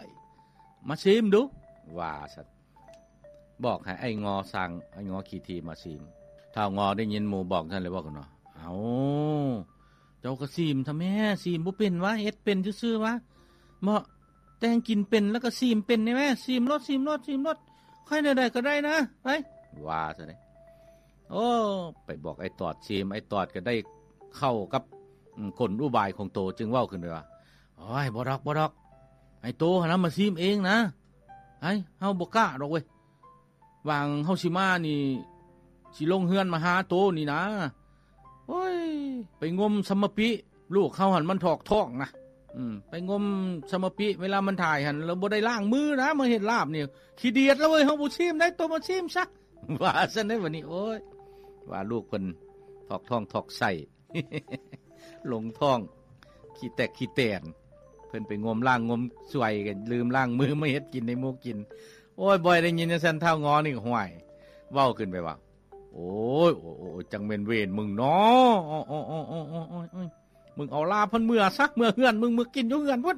ຍ ມາຊີມດູ ວ່າຊັ້ນ. ບອກໃຫ້ອ້າຍງໍຊ່າງ ອ້າຍງໍຂີ້ຖີ່ມາຊີມ. ທ້າວງໍໄດ້ຍິນໝູ່ບອກຊັ້ນເລີຍເວົ້າຂຶ້ນວ່າ ເອົ້າ ເຈົ້າກໍຊີມຊະແມ້ ຊີມບໍ່ເປັນຫວາ ເຮັດເປັນຊື່ໆຫວາ ເໝາະ ແຕ່ງກິນເປັນ ແລ້ວກໍຊີມເປັນນີ້ແມ້ ຊີມໂລດ ຊີມໂລດ ຊີມໂລດ ຂ້ອຍແນວໃດກໍໄດ້ນະ ໄປ ວ່າຊັ້ນເດ້. ໂອ້ ໄປບອກອ້າຍຕອດຊີມ ອ້າຍຕອດກໍໄດ້ເຂົ້າກັບ ອືມ ກົນອຸບາຍຂອງໂຕ ຈຶ່ງເວົ້າຂຶ້ນໄປວ່າ ໂອ້ຍ ບໍ່ດອກ ບໍ່ດອກ ໃຫ້ໂຕຫັ້ນນະມາຊີມເອງນະ ໄອ້ ເຮົາບໍ່ກ້າດອກເວີຍ ຫວ່າງເຮົາຊິມານີ້ ຊິລົງເຮືອນມາຫາໂຕນີ້ນະ ໂອ້ຍ ໄປງົມສຳມະປິ ລູກເຮົາຫັ້ນມັນຖອກທ້ອງນະ ອືມ ໄປງົມສຳມະປິ ເວລາມັນຖ່າຍຫັ້ນ ລະບໍ່ໄດ້ລ້າງມືນະ ມາເຮັດລາບນີ້ ຂີ້ດຽດລະເວີຍ ເຮົາບໍ່ຊີມໄດ໋ ໂຕມາຊີມຊະ ວ່າຊັ້ນເດ້ບັດນີ້. ໂອ້ຍ ວ່າລູກເພິ່ນຖອກທ້ອງຖອກໄສ້ ລົງທ້ອງ ຂີ້ແຕກຂີ້ແຕນ ເພິ່ນໄປງົມລ້າງງົມສວຍ ກໍລືມລ້າງມື ມາເຮັດກິນໃຫ້ໝູ່ກິນ. ໂອ້ຍ ບ່ອຍໄດ້ຍິນຈັ່ງຊັ້ນ ທ້າວງໍນີ້ກໍ ຫ້ວຍ ເວົ້າຂຶ້ນໄປວ່າ ໂອ້ຍ ໂອ້ຍ ໂອ້ຍ ໂອ້ຍ ຈັ່ງແມ່ນເວນມຶງເນາະ ໂອ້ຍ ໂອ້ຍ ໂອ້ຍ ມຶງເອົາລາບເພິ່ນເມືອຊະ ເມືອເຮືອນ ມຶງເມືອກິນຢູ່ເຮືອນພຸ້ນ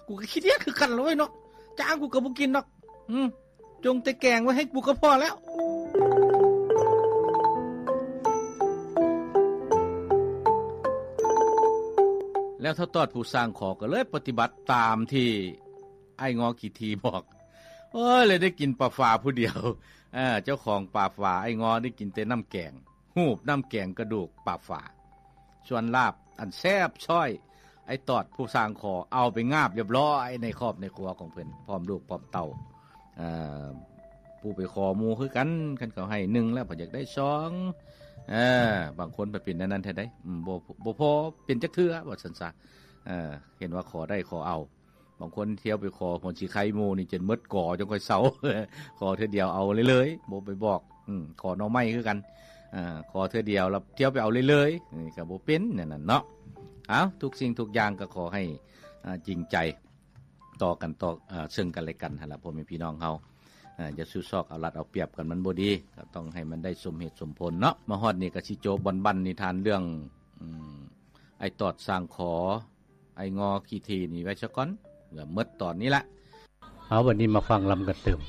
ກູກໍຂີ້ດຽດຄືກັນລະເວີຍເນາະ ຈ້າງກູກໍບໍ່ກິນດອກ ອືມ ຈົ່ງແຕ່ແກງໄວ້ໃຫ້ກູກໍພໍແລ້ວ. ແລ້ວທ້າວຕອດຜູ້ສ້າງຂໍກໍເລີຍປະຕິບັດຕາມທີ່ອ້າຍງໍຂີ້ຖີ່ບອກ ໂອ້ຍ ເລີຍໄດ້ກິນປາຝາຜູ້ດຽວ ເອີ ເຈົ້າຂອງປາຝາ ອ້າຍງໍໄດ້ກິນແຕ່ນ້ຳແກງ ຮູບນ້ຳແກງກະດູກປາຝາ ສ່ວນລາບອັນແຊບຊ້ອຍ ອ້າຍຕອດຜູ້ສ້າງຂໍເອົາໄປງາບລຽບລ້ອຍໃນຄອບໃນຄົວຂອງເພິ່ນ ພ້ອມລູກພ້ອມເຕົ້າ ເອີ ຜູ້ໄປຂໍໝູ່ຄືກັນ ຄັນເຂົາໃຫ້ໜຶ່ງແລ້ວເພິ່ນຢາກໄດ້ສອງ ເອີ ບາງຄົນເພິ່ນເປັນແນວນັ້ນແທ້ໃດ໋ ອືມ ບໍ່ ບໍ່ພໍເປັນຈັກເທື່ອ ວ່າຊັ້ນຊະ ເອີ ເຫັນວ່າຂໍໄດ້ຂໍເອົາ ບາງຄົນທ່ຽວໄປຂໍຫົວສີໄຄໝູ່ນີ້ຈົນໝົດກໍຈັ່ງຄ່ອຍເຊົາ ຂໍເທື່ອດຽວເອົາເລີຍໆ ບໍ່ໄປບອກ ອືມ ຂໍໜໍ່ໄມ້ຄືກັນ ເອີ ຂໍເທື່ອດຽວແລ້ວທ່ຽວໄປເອົາເລີຍໆ ນີ້ກໍບໍ່ເປັນແນວນັ້ນເນາະ. ເອົາ ທຸກສິ່ງທຸກຢ່າງກໍຂໍໃຫ້ ອາ ຈິງໃຈຕໍ່ກັນ ຕໍ່ ອາ ເຊິ່ງກັນແລະກັນຫັ້ນລະ ພໍ່ແມ່ພີ່ນ້ອງເຮົາ ອາ ຢ່າສູ້ຊອກເອົາລັດເອົາປຽບກັນ ມັນບໍ່ດີ ກໍຕ້ອງໃຫ້ມັນໄດ້ສົມເຫດສົມຜົນເນາະ. ມາຮອດນີ້ກໍຊິໂຈະບັ້ນໆນິທານເລື່ອງ ອືມ ອ້າຍຕອດສ້າງຂໍ ອ້າຍງໍຂີ້ຖີ່ນີ້ໄວ້ຊະກ່ອນ ກໍໝົດຕອນນີ້ລະ. ເອົາ ບັດນີ້ມາຟັງລຳກັນຕື່ມ.